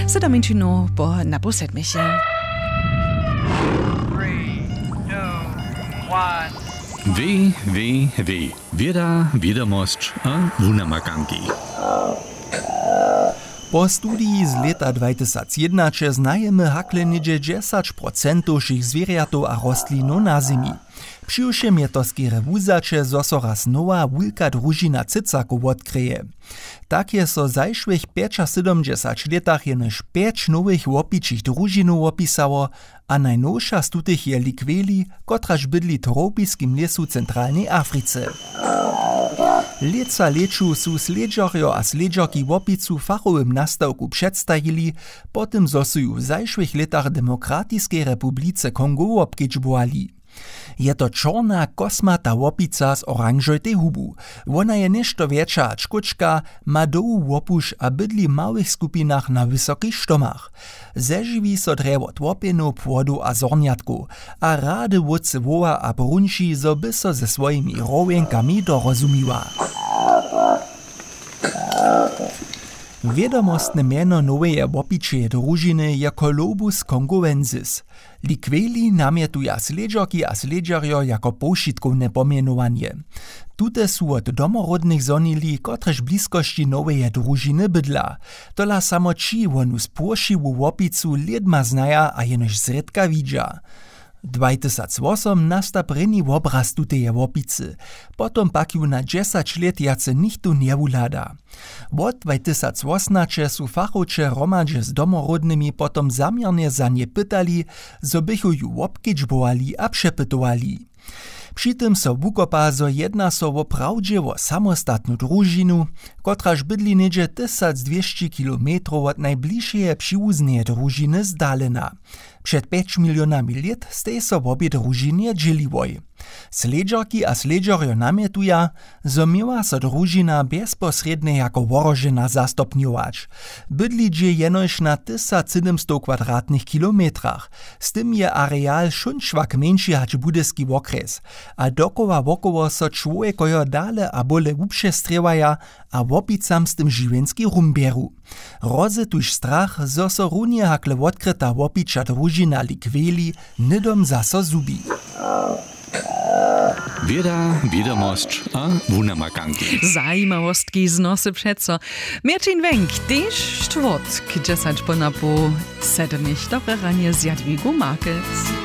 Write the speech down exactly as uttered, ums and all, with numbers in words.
Sedam minutinow po napoł sedmješe. Www, wěda, wědomosć a wunamakanki. Po studiji z lěta dwajtysacjednaće znajemy hakle něhdźe dźesać procentow wšěch zwěrjatow a rostlinow na zemi. Přiwšěm je to skerje wuzaće, zo so raz nowa wulka družina cycakow wotkrěje. Tak je so w zašłych pjećasydomdźesać lětach jenož pjeć nowych łopičich družinow wopisało, a najnowša z tutych je likweli, kotraž bydli w tropiskim lěsu w centralnej Africe. Lětsa lěću su slědźerjo a slědźerki łopicu w fachowym nastawku předstajili, po tym zo su ju w zašłych lětach w Demokratiskeje republice Kongo wobkedźbowali. Je to čorna kosmata łopica z oranžojtej hubu. Wona je něšto wjetša hač kóčka, ma dołhu łopuš a bydli w małych skupinach na wysokich štomach. Zežiwi so drje wot łopjenow, płodow a zhornjatkow, a rady wótře woła a brunči, zo by so ze swojimi rowjenkami dorozumiła. Wědomostne mjeno noweje łopičeje družiny je Colobus congoensis. Likweli namjetuja slědźerki a slědźerjo jako powšitkowne pomjenowanje. Tute su wot domoródnych zhonili, kotrež w bliskosći noweje družiny bydla. Tola samo ći wonu spłošiłu łopicu lědma znaja a jenož zrědka widźa. Dwajtysacwosom nasta prěni wobraz tuteje łopicy, potom pak ju na dźesać lět wjace nichtó njewuhlada. Wot dwajtysacwosomnaće su fachowće hromadźe z domoródnymi potom zaměrnje za nje pytali, zo bychu ju wobkedźbowali a přepytowali. Při tym so wukopa, zo jedna so woprawdźe wo samostatnu družinu, kotraž bydli něhdźe tysacdwěsći kilometrow wot najbližšeje přiwuzneje družiny zdalena. Před pjeć milionami lět stej so wobě družinje dźěliłoj. Slědźerki a slědźerjo namjetuja, zo měła so družina bjezposrědnje jako wohrožena zastopnjować. Bydli dźě jenož na tysacsydomstow kwadratnych kilometrach. Z tym je areal šónčwak mjeńši hač budyski wokrjes. A dokoła wokoło so čłowjekojo dale a bóle wupřestrěwaja a łopicam z tym žiwjenski rum bjeru. Hrozy tuž strach, zo so runje hakle wotkryta łopiča družina likweli hnydom zaso zhubi. Wěda, wědomosć a wunamakanki. Zajimawostki z nosy přeco. Měrćin wjenk, tež štwórtk dźesać po napoł sedmich. Dobre ranje z Jadwigu Markec.